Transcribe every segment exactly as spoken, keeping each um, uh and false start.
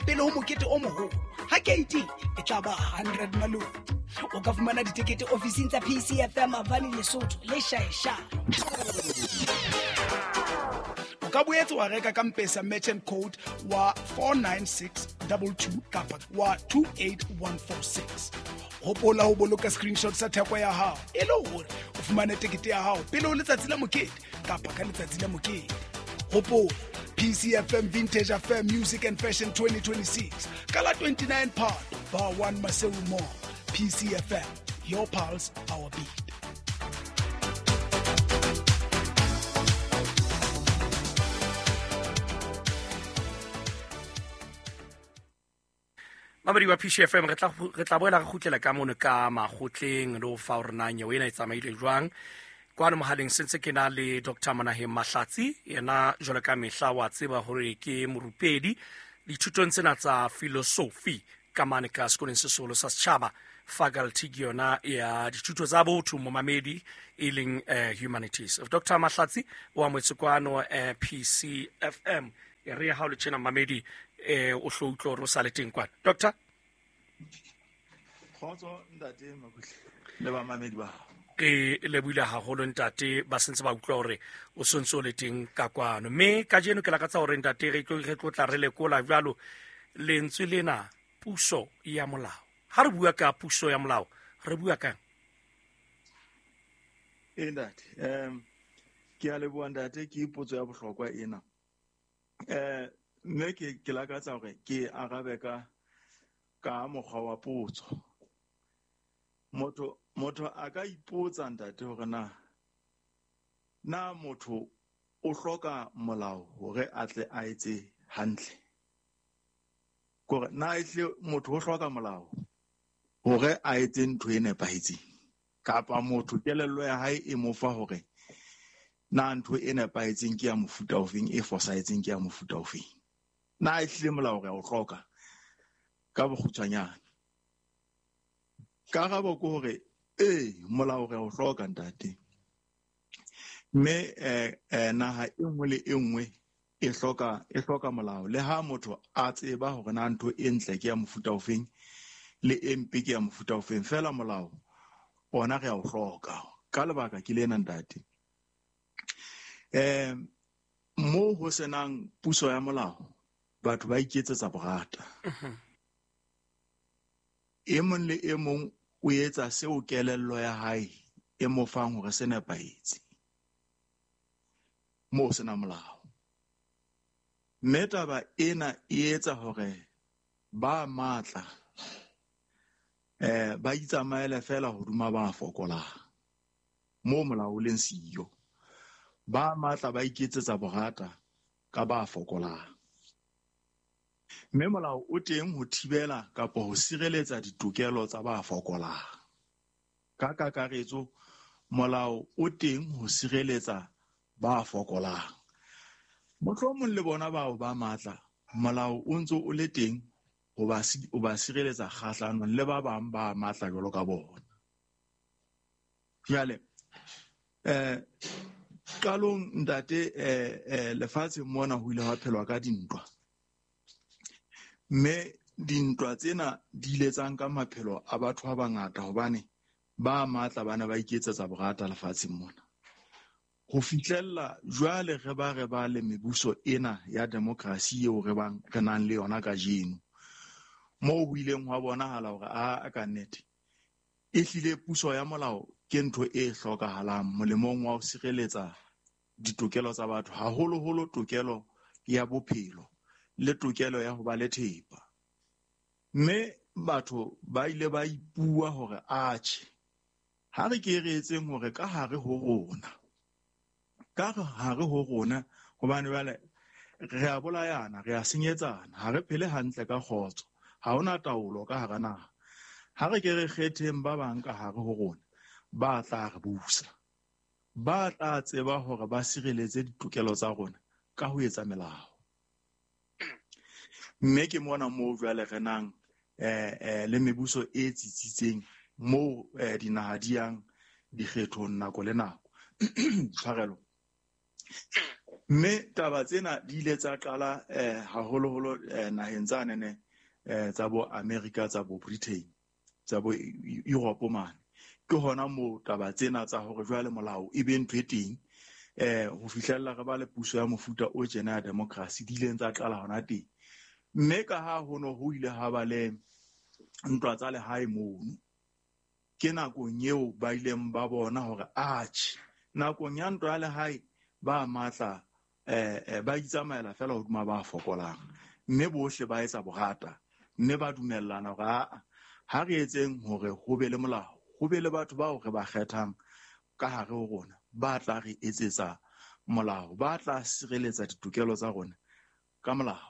pele ho mokete o moholo. Ha keiti e tla ba hundred malome. O ka fumana ditekete ofising tsa P C F M Avani Lesotho le Shaesha. O ka boetse wa reka ka M-Pesa merchant code wa four nine six double two kapa wa two eight one four six. Hopola ho boloka screenshot sa theko ya hao e le hore o fumane tekete ya hao pele ho letsatsi la mokete kapa ka letsatsi la mokete. Hopola P C F M Vintage Affair Music and Fashion twenty twenty-six. Ka la twenty-nine Phato, Bar one Maseru Mall. P C F M, your pulse, our beat. Mamedi wa P C F M, re tla, re tla boela re kgutlela ka mono ka makgotleng le ho fa hore na nyewe ena e tsamaile jwang. Kwano mohaleng sentse ke na le Doctor Monaheng Mahlatsi, yena jwalo ka mehla wa tseba hore ke morupedi dithutong tsena tsa philosophy ka mane ka sekolong se seholo sa setjhaba, faculty ke yona ya dithuto tsa botho momamedi e leng, eh, humanities. Doctor Mahlatsi o amohetse kwano, eh, P C F M. E re ha o le tjena mamedi, eh, o hlo utlwe hore o sa le teng kwana. Doctor? Kgotso ntate Makutle le bamamedi ba hao. Ke lebohile haholo ntate, ba sentse ba utlwa hore o sontse o le teng ka kwano. Mme kajeno ke lakatsa hore ntate re tlo, re tlo tla re lekola jwalo lentswe lena puso ya molao. Ha re bua ka puso ya molao, re bua kang? Ee ntate, em, ke a leboha ntate, ke potso ya bohlokwa ena. Eh, mme ke, ke lakatsa hore ke arabe ka, ka mokgwa wa potso. Motho, motho a ka ipotsa ntate hore na, na motho o hloka molao hore a tle a etse hantle. Kore na ehle motho o hloka molao hore a etse ntho e nepahetseng, kapa motho kelello ya hae e mo fa hore na ntho e nepahetseng ke ya mofuta ofeng, e fosahetseng ke ya mofuta ofeng. Na ehlile molao re a o hloka ka bokgutshwanyane? Karabo ke hore ee, molao re a o hloka ntate. Mme, eh, eh, naha e nngwe le e nngwe e hloka, e hloka molao. Le ha motho a tseba hore na ntho e ntle ke ya mofuta ofeng le e mpe ke ya mofuta ofeng, feela molao ona re a o hloka. Ka lebaka ke lena ntate. Eh, mo ho senang puso ya molao, batho ba iketsetsa borata. Mhm. E mong le e mong o etsa seo kelello ya hae e mo fang hore se nepahetse. Moo sena molao. Mme taba ena e etsa hore ba matla, eh, ba itsamaele fela hodima ba fokolang. Moo molao o leng siyo. Ba matla ba iketsetsa borata ka ba fokolang. Mme molao o teng ho thibela kapa ho sireletsa ditokelo tsa ba fokolang. Ka kakaretso, molao o teng ho sireletsa ba fokolang. Mohlomong le bona bao ba matla, molao o ntso o le teng ho ba si-, ho ba sireletsa kgahlanong le ba bang ba matla jwalo ka bona. Jwale, eh, qalong ntate, eh, eh, lefatsheng mona ho ile hwa phelwa ka dintwa. Mme dintwa tsena di ile tsa nka maphelo a batho ba bangata hobane ba matla bana ba iketsetsa borata lefatsheng mona. Ho fihlella jwale re ba re ba le mebuso ena ya demokrasi eo re bang re nang le yona kajeno. Moo ho ileng hwa bonahala hore a, a ka nnete ehlile puso ya molao ke ntho e hlokahalang molemong wa ho sireletsa ditokelo tsa batho, haholoholo tokelo ya bophelo le tokelo ya ho ba le thepa. Mme batho ba ile ba ipua hore atjhe, ha re ke re etseng hore ka hare ho rona, ka hare ho rona, hobane jwale re a bolayana, re a senyetsana, ha re phele hantle ka kgotso, ha hona taolo ka hara naha. Ha re ke re kgetheng ba bang ka hare ho rona ba tla re busa, ba tla tseba hore ba sireletse ditokelo tsa rona ka ho etsa melao. Mme ke mona moo jwale re nang, eh, eh, le mebuso e tsitsitseng moo, eh, dinaha di yang dikgethong nako le nako. Tshwarelo. Mme taba tsena di ile tsa qala eh haholoholo eh, naheng tsa nene eh tsa bo America, tsa bo Britain, tsa bo Europe mane. Ke hona moo taba tsena tsa hore jwale molao e be ntho e teng eh ho fihlella re ba le puso ya mofuta o tjena ya democracy di ileng tsa qala hona teng. Mme ka ha ho no ho ile ha ba le ntwa tsa lehae mono, ke nakong eo ba ileng ba bona hore atjhe, nakong ya ntwa ya lehae ba matla eh ba itsamaela fela hodima ba fokolang, mme bohle ba etsa borata, mme ba dumellana hore a ha re etseng hore ho be le molao, ho be le batho bao re ba kgethang ka hare ho rona ba tla re etsetsa molao, ba tla sireletsa ditokelo tsa rona ka molao.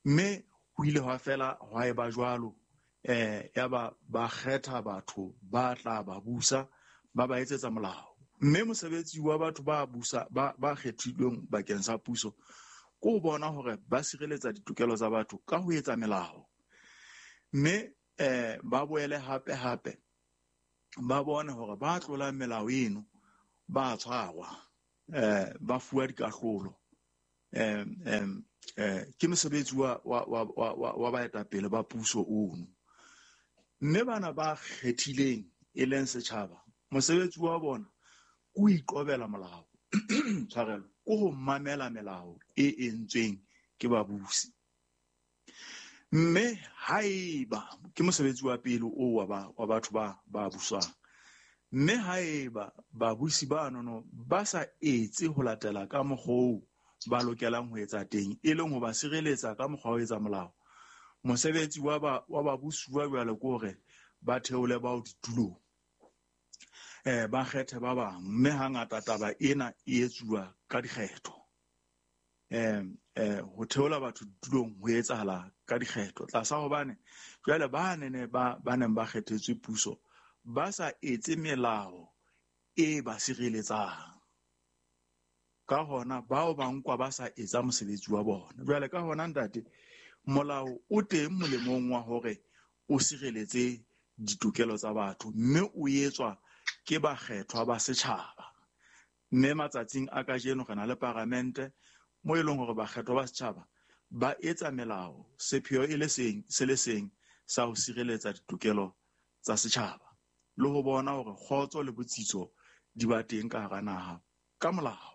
Mme ho ile hwa fela hwa eba jwalo, eh ya ba ba kgetha batho ba tla ba busa, ba ba etsetsa molao. Mme mosebetsi wa batho ba busa ba ba kgethilweng bakeng sa puso ke ho bona hore ba sireletsa ditokelo tsa batho ka ho etsa melao. Mme eh ba boele hape hape ba bone hore ba tlolang melao eno ba tshwarwa, eh ba fuwa dikahlolo. Eh eh ke mosebetsi wa wa wa wa baetapele ba puso ono. Mme bana ba kgethileng e leng setjhaba, mosebetsi wa bona ke ho iqobela molao, tshwarelo, ke ho mamela melao e entsweng ke babusi. Mme haeba ke mosebetsi wa pele o wa ba wa batho ba ba busang, mme haeba babusi ba nono ba sa etse ho latela ka mokgwa oo ba lokelang ho etsa teng, e leng ho ba sireletsa ka mokgwa wa ho etsa molao, mosebetsi wa ba wa babusuwa jwale ke hore ba theole bao ditulong, eh ba kgethe ba bang. Mme hangata taba ena e etsuwa ka dikgetho. Eh eh ho theola batho ditulong ho etsahala ka dikgetho tlasa hobane jwale ba nene ba ba neng ba kgethetswe puso ba sa etse melao e ba sireletsang, ka hona bao ba nkwa ba sa etsa mosebetsi wa bona. Jwale ka hona ntate, molao o teng molemong wa hore o sireletse ditokelo tsa batho, mme o etswa ke bakgethwa ba setjhaba. Mme matsatsing a kajeno re na le paramente mo e leng hore bakgethwa ba setjhaba ba etsa melao sepheo e le seng se le seng sa ho sireletsa ditokelo tsa setjhaba le ho bona hore kgotso le botsitso di ba teng ka hara naha ka molao.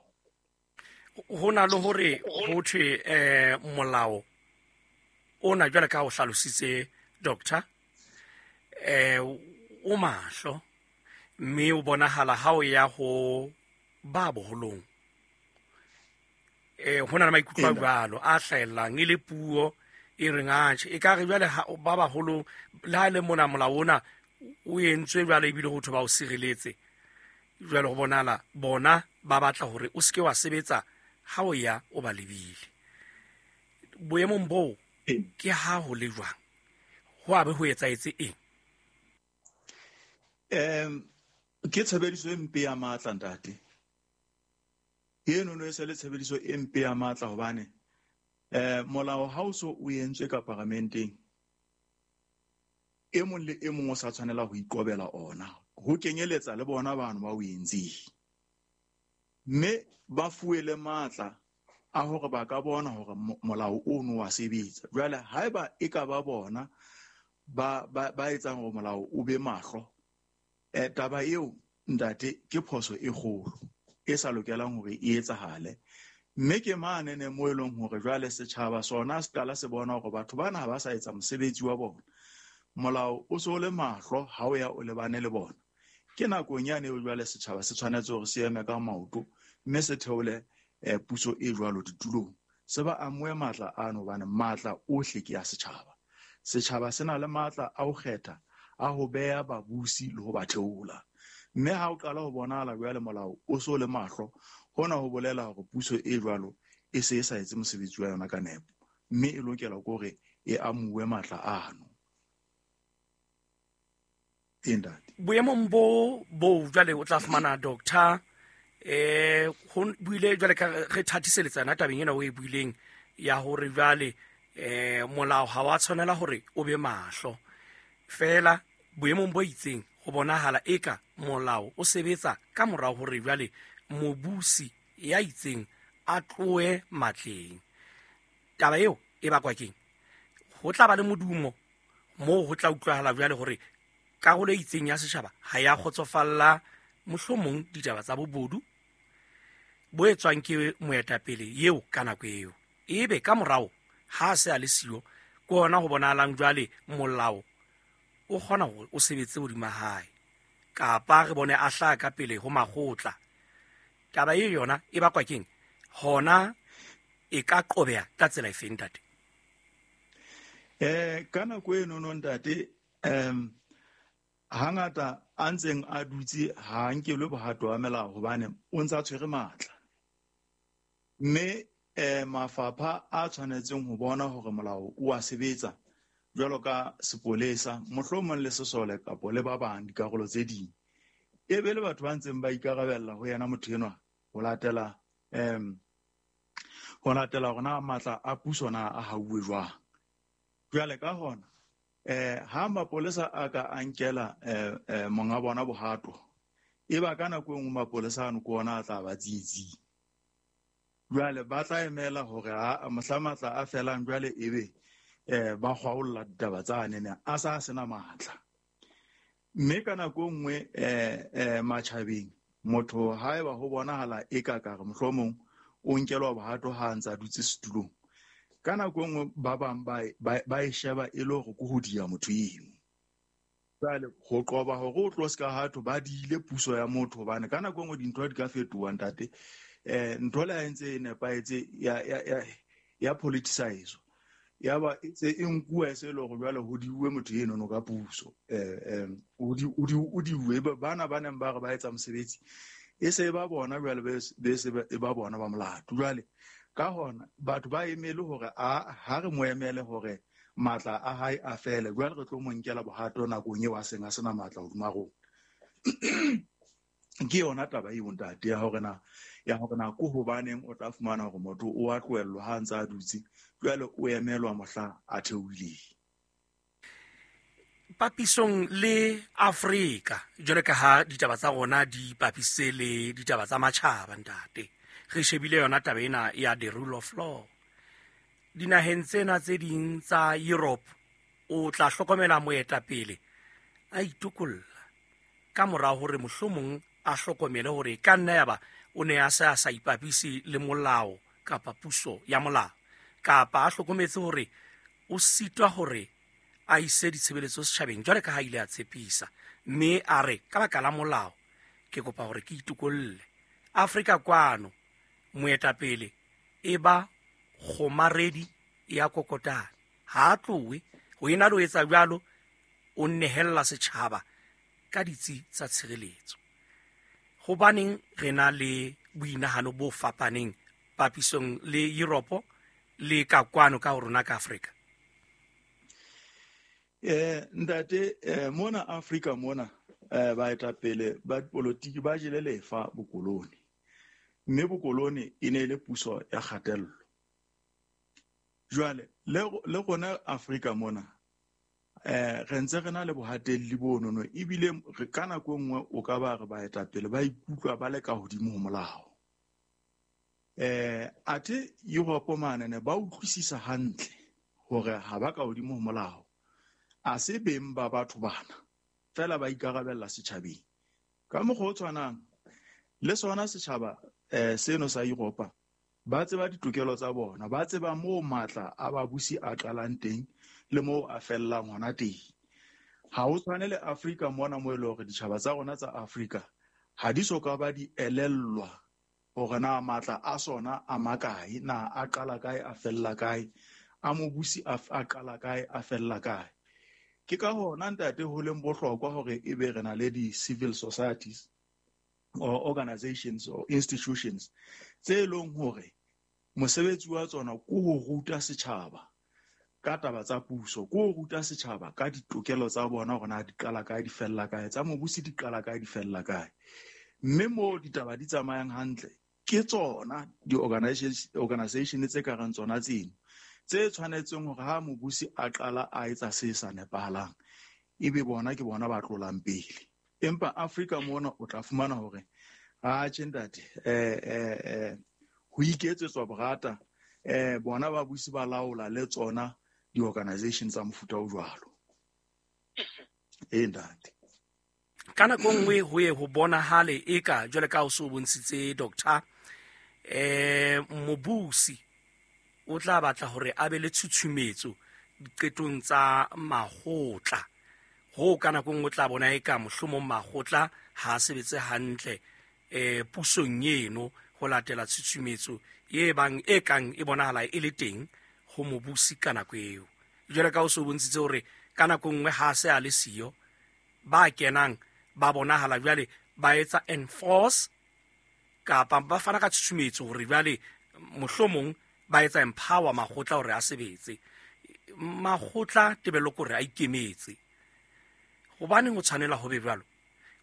Ho na le hore ho thwe eh molao ona jwale ka o hlalositse doctor, eh o mahlo, mme o bonahala ha o ya ho ba boholong. Eh ho na le maikutlo a jwalo a hlahellang e le puo e reng atjhe e ka re jwale ba baholo le ha le mona molao ona o entswe jwale ebile ho thwe ba o sireletse, jwale ho bonahala bona ba batla hore o seke wa sebetsa ha o ya o ba lebile. Boemong boo ke ha ho le jwang, ho a be ho etsahetse eng? Em ke tshebediso e mpe ya matla ntate. Eno no e se le tshebediso e mpe ya matla hobane eh molao ha o so o entswe ka paramenteng, e mong le e mong o sa tshwanela ho ikobela ona, ho kenyeletsa le bona bano ba o entseng. Mme ba fuwe le matla a hore ba ka bona hore molao ono wa sebetsa. Jwale haeba e ka ba bona ba ba ba etsang hore molao o be mahlo, eh taba eo ntate ke phoso e kgolo e sa lokelang hore e etsahale. Mme ke mane ne mo e leng hore jwale setjhaba sona se qala se bona hore batho bana ha ba sa etsa mosebetsi wa bona, molao o so le mahlo ha o ya o lebane le bona. Ke nakong yane eo jwale setjhaba se tshwanetse hore se eme ka maoto mme se theole eh puso e jwalo ditulong, se ba amohe matla ano hobane matla ohle ke ya setjhaba. Setjhaba se na le matla a ho kgetha, a ho beha babusi le ho ba theola. Mme ha o qala ho bonahala jwale molao o so le mahlo, hona ho bolela hore puso e jwalo e se e sa etse mosebetsi wa yona ka nepo, mme e lokela ke hore e amuwe matla ano. Boemong bo bo jwale o tla fumana doctor eh ho buile jwale ka re thatiseletsana tabeng ena o e buileng ya hore jwale eh molao ha wa tshwanela hore o be mahlo fela. Boemong bo itseng ho bonahala eka molao o sebetsa ka morao hore jwale mobusi ya itseng a tlohe matleng. Taba eo e bakwa keng? Ho tla ba le modumo moo ho tla utlwahala jwale hore karolo e itseng ya setjhaba ha ya kgotsofalla mohlomong ditaba tsa bobodu bo etswang ke moetapele eo ka nako eo. Ebe ka morao ha se a le siyo, ke hona ho bonahalang jwale molao o kgona hore o sebetse hodima hae, kapa re bone a hlaha ka pele ho makgotla. Taba e yona e bakwa keng? Hona e ka qobeha ka tsela efe, ntate? Eh ka nako eno no ntate, em hangata a ntseng a dutse ha nkelwe bohato wa melao hobane o ntsa tshwere matla. Mme eh mafapha a tshwanetseng ho bona hore molao o a sebetsa jwalo ka sepolesa, mohlomong le sesole kapa le ba bang dikarolo tse ding, e be le batho ba ntseng ba ikarabella ho yena motho enwa ho latela em ho latela hore na matla a puso na a hauwe jwang. Jwale ka hona eh ha mapolesa a ka a nkela eh monga bona bohato, e ba ka nako e nngwe mapolesa ano ke ona a tla ba tsietsing. Jwale ba tla emela hore ha mohla matla a felang jwale ebe eh ba kgwaolla ditaba tsa nene a sa sena matla. Mme ka nako e nngwe eh eh matjhabeng motho haeba ho bonahala e ka ka re mohlomong o nkelwa bohato ha a ntsa dutse setulong, ka nako e nngwe ba bang ba ba e sheba e le hore ke ho dia motho eno. Jwale ho qoba hore o tlo ska hatho ba diile puso ya motho, hobane ka nako e nngwe dintho di ka fetoha ntate. Eh ntho le ha e ntse e nepahetse ya ya ya ya politicize, ya ba e tse e nkuwa e se le hore jwale ho diuwe motho eno no ka puso, eh eh o di o di o diuwe bana ba neng ba re ba etsa mosebetsi e se ba bona jwale be se ba bona ba molato. Jwale ka hona batho ba emele hore a ha re mo emele hore matla a hae a fele, jwale re tlo mo nkela bohato nakong eo a seng a sena matla hodima rona. Ke yona taba eo ntate ya hore na ya hore na ko hobaneng o tla fumana hore motho o a tlohellwa ha ntse a dutse, jwale o emelwa mohla a theohileng. Papisong le Afrika, jwale ka ha ditaba tsa rona di papisitse le ditaba tsa matjhaba ntate, re shebile yona taba ena ya the rule of law. Dinaheng tsena tse ding tsa Europe o tla hlokomela moetapele a itokolla ka mora hore mohlomong a hlokomele hore ka nna ya ba o ne a se a sa ipapise le molao kapa puso ya molao, kapa a hlokometse hore o sitwa hore a ise ditshebeletso setjhabeng jwale ka ha ile a tshepisa, mme a re ka baka la molao ke kopa hore ke itokolle. Afrika kwano moetapele e ba kgomaredi ya kokotane, ha a tlohe ho ena le ho etsa jwalo, o nehella setjhaba ka ditsi tsa tshireletso. Hobaneng re na le boinahano bo fapaneng papisong le Europe le ka kwano ka ho rona ka Afrika? Eh ntate, eh, mona Afrika mona eh baetapele ba dipolotiki ba jele lefa bokolone, mme bokolone e ne le puso ya kgatello. Jwale le le rona Afrika mona eh re ntse re na le bohatelli bonono, ebile re ka nako e nngwe o ka ba re baetapele ba ikutlwa ba le ka hodimo ho molao. Eh athe Europe mane ne ba utlwisisa hantle hore ha ba ka hodimo ho molao, a se beng ba batho bana fela ba ikarabella setjhabeng. Ka mokgwa o tshwanang le sona setjhaba eh seno sa Europa, ba tseba ditokelo tsa bona, ba tseba moo matla a babusi a qalang teng le moo a fellang hona teng. Ha ho tshwane le Afrika mona mo e leng hore ditjhaba tsa rona tsa Afrika ha di so ka ba di elellwa hore na matla a sona a makae, na a qala kae a fella kae, a mobusi a qala kae a fella kae. Ke ka hona ntate ho leng bohlokwa hore ebe re na le di-civil societies or organizations or institutions tse leng hore mosebetsi wa tsona ke ho ruta setjhaba ka taba tsa puso, ke ho ruta setjhaba ka ditokelo tsa bona hore na di qala kae di fella kae, tsa mobusi di qala kae di fella kae. Mme moo ditaba di tsamayang hantle ke tsona di-organization tse ka reng tsona tseno tse tshwanetseng hore ha mobusi a qala a etsa se sa nepahalang ebe bona ke bona ba tlolang pele. Empa Afrika mona o tla fumana hore a tjhe ntate eh eh eh ho Ho iketsetswa borata eh bona babusi ba laola le tsona di-organization tsa mofuta o jwalo. E ntate. Ka nako nngwe ho ye ho bonahale eka jwale ka o so bontshitse doctor eh mobusi o tla batla hore a be le tshutshumetso diqetong tsa makgotla. Ho ka nako nngwe o tla bona eka mohlomong makgotla ha a sebetse hantle eh pusong eno ho latela tshutshumetso e bang e kang e bonahala e le teng ho mobusi ka nako eo. Jwale ka o so bontshitse hore ka nako nngwe ha se a le siyo ba kenang ba bonahala jwale ba etsa enforce kapa ba fana ka tshutshumetso hore jwale mohlomong ba etsa empower makgotla hore a sebetse. Makgotla tebello ke hore a ikemetse. Hobaneng o tshwanela ho be jwalo?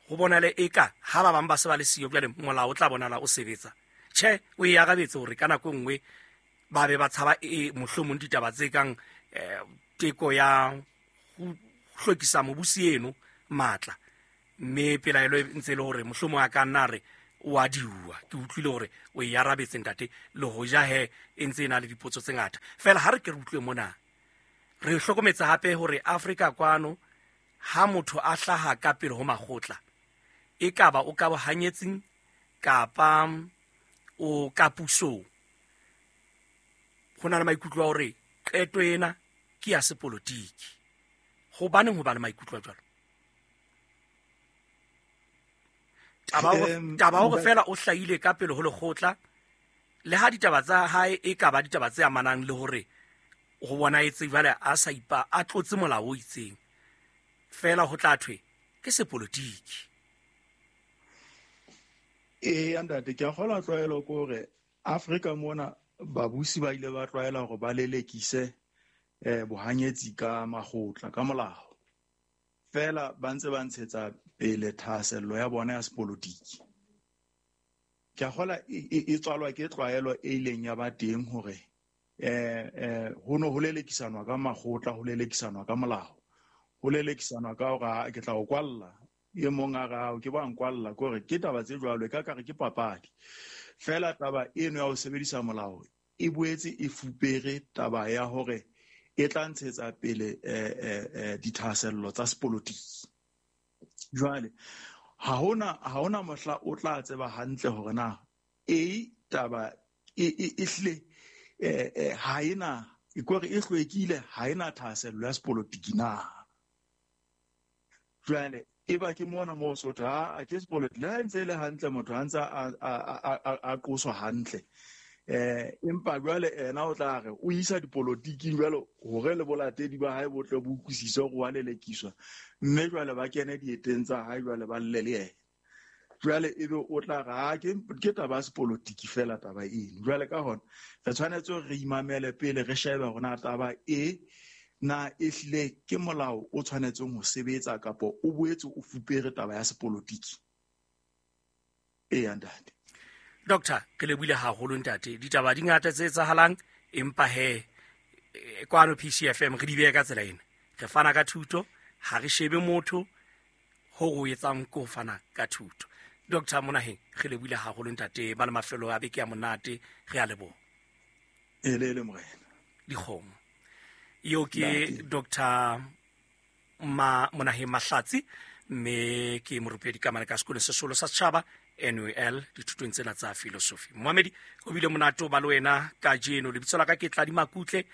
Ho bonale eka ha ba bang ba se ba le siyo jwale molao o tla bonala o sebetsa. Tjhe, o e arabetse hore ka nako nngwe ba be ba tshaba e mohlomong ditaba tse kang teko ya ho hlwekisa mobusi eno matla, mme pelaelo e ntse le hore mohlomong a ka nna re o a diuwa. Ke utlwile hore o e arabetse ntate, le hoja he e ntse e na le dipotso tse ngata. Fela ha re ke re utlwe mona, re hlokometse hape hore Afrika kwano ha motho a hlaha ka pele ho makgotla e kaba o ka bohanyetsing kapa o ka pusong, ho na le maikutlo a hore qeto ena ke ya sepolotiki. Hobaneng ho ba le maikutlo a jwalo? Taba taba hore fela o hlahile ka pele ho lekgotla, le ha ditaba tsa hae e ka ba ditaba tse amanang le hore ho bona etse jwale a sa ipa a tlotse molao o itseng, fela ho tla thwe ke sepolotiki. E ntate, ke a kgolwa tlwaelo ke hore Afrika mona babusi ba ile ba tlwaela hore ba lelekise eh bohanyetsi ka makgotla ka molao. Fela ba ntse ba ntshetsa pele thahasello ya bona ya sepolotiki. Ke a kgolwa e tswalwa ke tlwaelo e ileng ya ba teng hore eh eh ho no ho lelekisanwa ka makgotla, ho lelekisanwa ka molao, ho lelekisanwa ka hore ke tla o kwalla, e mong a re ke ba nkwalla, ke hore ke taba tse jwalo e ka kare ke papadi. Fela taba eno ya ho sebedisa molao e boetse e fupere taba ya hore e tla ntshetsa pele eh dithahasello tsa sepolotiki. Jwale ha hona ha hona mohla o tla tseba hantle hore na e taba e e hle eh ha ena e kore e hlwekile, ha ena thahasello ya sepolotiki na. Jwale e ba ke mona mo so tha ke sepolotiki le ntse le hantle, motho a ntse a a qoswa hantle eh empa jwale ena o tla re o isa dipolotiking jwale hore le bolatedi ba hae botle bo utlwisise hore wa lelekiswa, mme jwale ba kene dieteng tsa hae jwale ba lle le yena. Jwale ebe o tla re ha ke ke taba ya sepolotiki fela taba eno. Jwale ka hona re tshwanetse hore re imamele pele re shebe hore na taba e na e hlile ke molao o tshwanetseng ho sebetsa kapa o boetse o fupere taba ya sepolotiki. E ntate. Doctor, ke lebohile haholo ntate. Ditaba di ngata tse etsahalang, empa he kwano P C F M re di beha ka tsela ena. Re fana ka thuto, ha re shebe motho ho o etsang ko fana ka thuto. Doctor Monaheng, re lebohile haholo ntate, ba le mafelo a beke ya monate, re a leboha. E le le morena. Dikgomo. Eo ke Doctor Ma Monaheng Mahlatsi, mme ke morupedi ka mane ka sekolong se seholo sa setjhaba N U L dithutong tsena tsa philosophy. Moamedi, ho bile monate ho ba le wena kajeno. Lebitso la ka ke Tladi Makutle,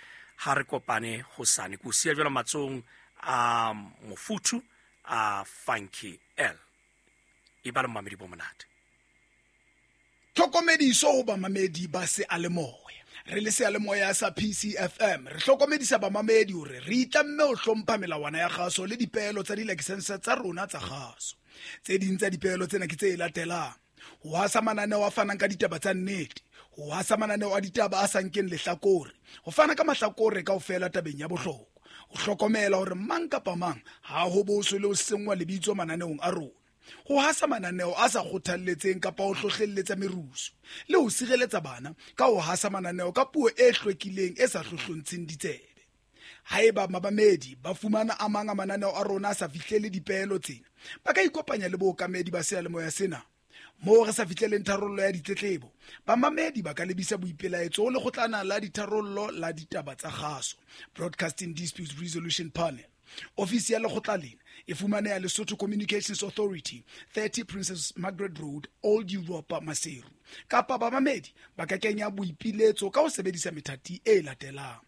ha re kopane hosane. Ke o siya jwalo matsohong a mofuthu a Funky L. E ba le moamedi bo monate. Tlhokomediso ho bamamedi ba seyalemoya. Re le seyalemoya sa P C F M re hlokomedisa bamamedi hore re itlamme ho hlompha melawana ya kgaso le dipeelo tsa dilakesense tsa rona tsa kgaso. Tse ding tsa dipeelo tsena ke tse latelang: ho hasa mananeo a fanang ka ditaba tsa nnete, ho hasa mananeo a ditaba a sa nkeng lehlakore, ho fana ka mahlakore kaofela tabeng ya bohlokwa, ho hlokomela hore mang kapa mang ha ho boswe le ho senngwa lebitso mananeong a rona, ho hasa mananeo a sa kgothalletseng kapa ho hlohlelletsa merusu, le ho sireletsa bana ka ho hasa mananeo ka puo e hlwekileng e sa hlohlontsheng ditsebe. Haeba mabamedi ba fumana a mang a mananeo a rona a sa fihlele dipeelo tsena, ba ka ikopanya le bookamedi ba seyalemoya sena. Moo re sa fihleleng tharollo ya ditletlebo, bamamedi ba ka lebisa boipelaetso ho lekgotlana la ditharollo la ditaba tsa kgaso, Broadcasting Disputes Resolution Panel. Ofisi ya lekgotla lena e fumaneha Lesotho Communications Authority, thirty Princess Margaret Road, Old Europa, Maseru. Kapa bamamedi ba ka kenya boipiletso ka ho sebedisa methati e latelang: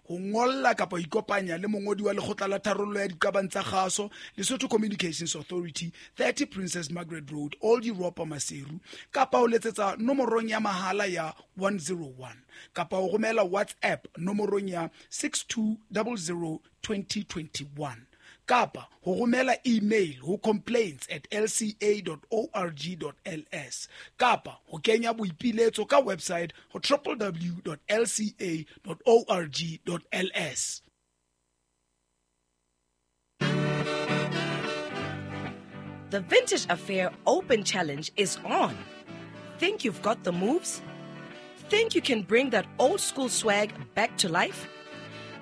ho ngolla kapa ho ikopanya le mongodi wa lekgotla la tharollo ya diqabang tsa kgaso, Lesotho Communications Authority, thirty Princess Margaret Road, Old Europa, Maseru, kapa ho letsetsa nomorong ya mahala ya one zero one, kapa ho romela WhatsApp nomorong ya six two zero zero twenty twenty-one, kapa ho romela email ho complaints at l c a dot org dot l s, kapa ho kenya boipiletso ka website ho w w w dot l c a dot org dot l s. The Vintage Affair Open Challenge is on. Think you've got the moves? Think you can bring that old school swag back to life?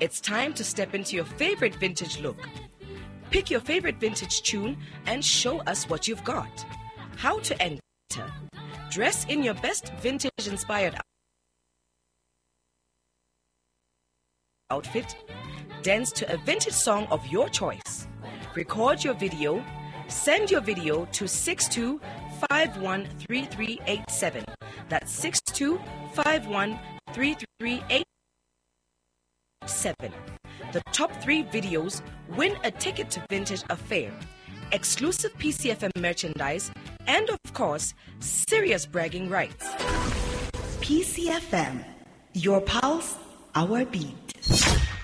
It's time to step into your favorite vintage look. Pick your favorite vintage tune and show us what you've got. How to enter. Dress in your best vintage-inspired outfit. Dance to a vintage song of your choice. Record your video. Send your video to six two five one three three eight seven. That's six two five one three three eight seven. The top three videos win a ticket to Vintage Affair, exclusive P C F M merchandise, and of course, serious bragging rights. P C F M, your pulse, our beat.